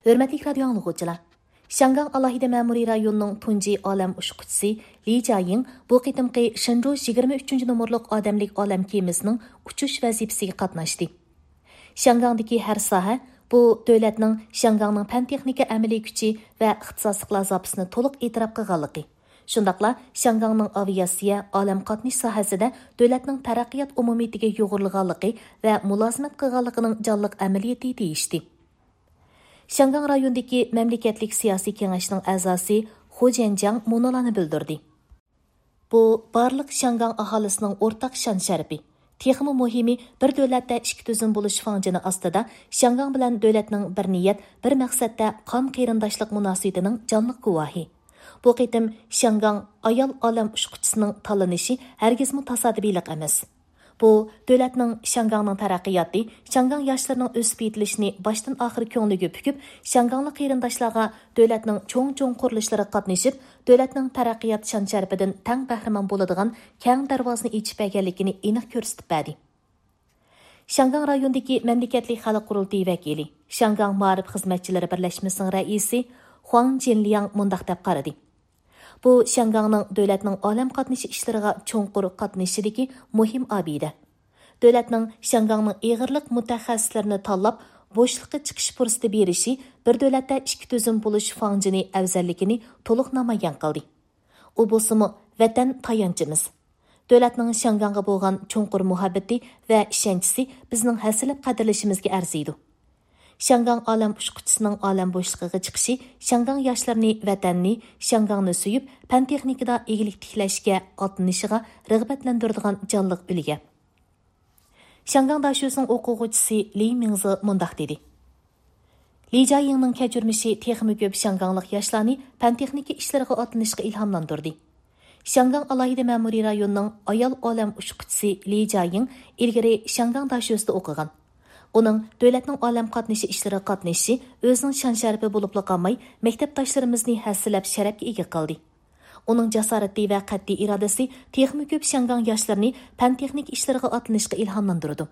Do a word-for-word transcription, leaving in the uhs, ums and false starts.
ھۆرمەتلىك رادىيو ئاڭلىغۇچىلار! شياڭگاڭ ئالاھىدە مەمۇرىي رايونىنىڭ تۇنجى ئالەم ئۇچقۇچىسى لى جياڭ بۇ قېتىمقى شېنجۇ يىگىرمە ئۈچىنچى نومۇرلۇق ئادەملىك ئالەم كېمىسىنىڭ ئۇچۇش ۋەزىپىسىگە قاتناشتى. شياڭگاڭدىكى ھەر ساھە بۇ دۆلەتنىڭ شياڭگاڭنىڭ پەن-تېخنىكا ئەمەلىي كۈچى ۋە ئىختىساسلىقلار زاپىسىنى تولۇق ئېتىراپ قىلغانلىقى، شۇنداقلا شياڭگاڭنىڭ ئاۋىئاتسىيە، ئالەم قاتنىشى ساھەسىدە دۆلەتنىڭ تەرەققىيات ئومۇمىيىتىگە يۇغۇرۇلغانلىقى ۋە مۇلازىمەت قىلغانلىقىنىڭ جانلىق ئەمەلىيىتى دېيىشتى. شياڭگاڭ رايونىدىكى مەملىكەتلىك سىياسىي كېڭەشنىڭ ئەزاسى خۇ جيەنجياڭ مۇنۇلارنى بىلدۈردى. بۇ بارلىق شياڭگاڭ ئاھالىسىنىڭ ئورتاق شان-شەرىپى. تېخىمۇ مۇھىمى، بىر دۆلەتتە ئىككى تۈزۈم بولۇش فاڭجېنى ئاستىدا شياڭگاڭ بىلەن دۆلەتنىڭ بىر نىيەت، بىر مەقسەتتە قان قېرىنداشلىق مۇناسىۋىتىنىڭ جانلىق گۇۋاھى. بۇ قېتىم شياڭگاڭ ئايال ئالەم ئۇچقۇچىسىنىڭ تاللىنىشى ھەرگىزمۇ تاسادىپىيلىق ئەمەس. بۇ، دۆلەتنىڭ شياڭگاڭنىڭ تەرەققىياتى، شياڭگاڭ ياشلىرىنىڭ ئۆسۈپ يېتىلىشىنى باشتىن ئاخىر كۆڭلىگە پۈكۈپ، شياڭگاڭلىق قېرىنداشلارغا دۆلەتنىڭ چوڭ-چوڭ قۇرۇلۇشلىرىغا قاتنىشىپ، دۆلەتنىڭ تەرەققىيات شان-شەرىپىدىن تەڭ بەھرىمەن بولىدىغان كەڭ دەرۋازىنى ئېچىپ بەرگەنلىكىنى ئېنىق كۆرسىتىپ بەردى. شياڭگاڭ رايونىدىكى مەملىكەتلىك خەلق قۇرۇلتىيى ۋەكىلى، شياڭگاڭ مائارىپ خىزمەتچىلىرى بىرلەشمىسىنىڭ رەئىسى خۇاڭ جىنلياڭ مۇنداق دەپ قارىدى. بۇ شياڭگاڭنىڭ دۆلەتنىڭ ئالەم قاتنىشى ئىشلىرىغا چوڭقۇر قاتنىشىشىدىكى مۇھىم ئابىدە. دۆلەتنىڭ شياڭگاڭنىڭ ئېغىرلىق مۇتەخەسسىسلىرىنى تاللاپ، بوشلۇققا چىقىش پۇرسىتى بېرىشى بىر دۆلەتتە ئىككى تۈزۈم بولۇش فاڭجېنى ئەۋزەللىكىنى تولۇق نامايان قىلدى. ئۇ بولسىمۇ، ۋەتەن تايانچىمىز. دۆلەتنىڭ شياڭگاڭغا بولغان چوڭقۇر مۇھەببىتى ۋە ئىشەنچىسى بىزنىڭ ھەسسىلەپ قەدىرلىشىمىزگە ئەرزىيدۇ. شياڭگاڭ ئالەم ئۇچقۇچىسىنىڭ ئالەم بوشلۇقىغا چىقىشى شياڭگاڭ ياشلىرىنى ۋەتەننى، شياڭگاڭنى سۆيۈپ، پەن-تېخنىكىدا ئىگىلىك تىكلەشكە ئاتلىنىشىغا رىغبەتلەندۈرىدىغان جانلىق ئۈلگە. شياڭگاڭ داشۆسىنىڭ ئوقۇغۇچىسى لى مىڭزې مۇنداق دېدى: لى جياڭنىڭ كەچۈرمىشى تېخىمۇ كۆپ شياڭگاڭلىق ياشلارنى پەن-تېخنىكا ئىشلىرىغا ئاتلىنىشقا ئىلھاملاندۇردى. شياڭگاڭ ئالاھىدە مەمۇرىي رايونىنىڭ ئايال ئالەم ئۇچقۇچىسى لى جياڭ ئىلگىرى شياڭگاڭ داشۆسىدە ئوقۇغان. ئۇنىڭ دۆلەتنىڭ ئالەم قاتنىشى ئىشلىرىغا قاتنىشىشى ئۆزىنىڭ شان-شەرىپى بولۇپلا قالماي، مەكتەپداشلىرىمىزنى ھەسسىلەپ شەرەپكە ئىگە قىلدى. ئۇنىڭ جاسارىتى ۋە قەتئىي ئىرادىسى تېخىمۇ كۆپ شياڭگاڭ ياشلىرىنى پەن-تېخنىكا ئىشلىرىغا ئاتلىنىشقا ئىلھاملاندۇرىدۇ.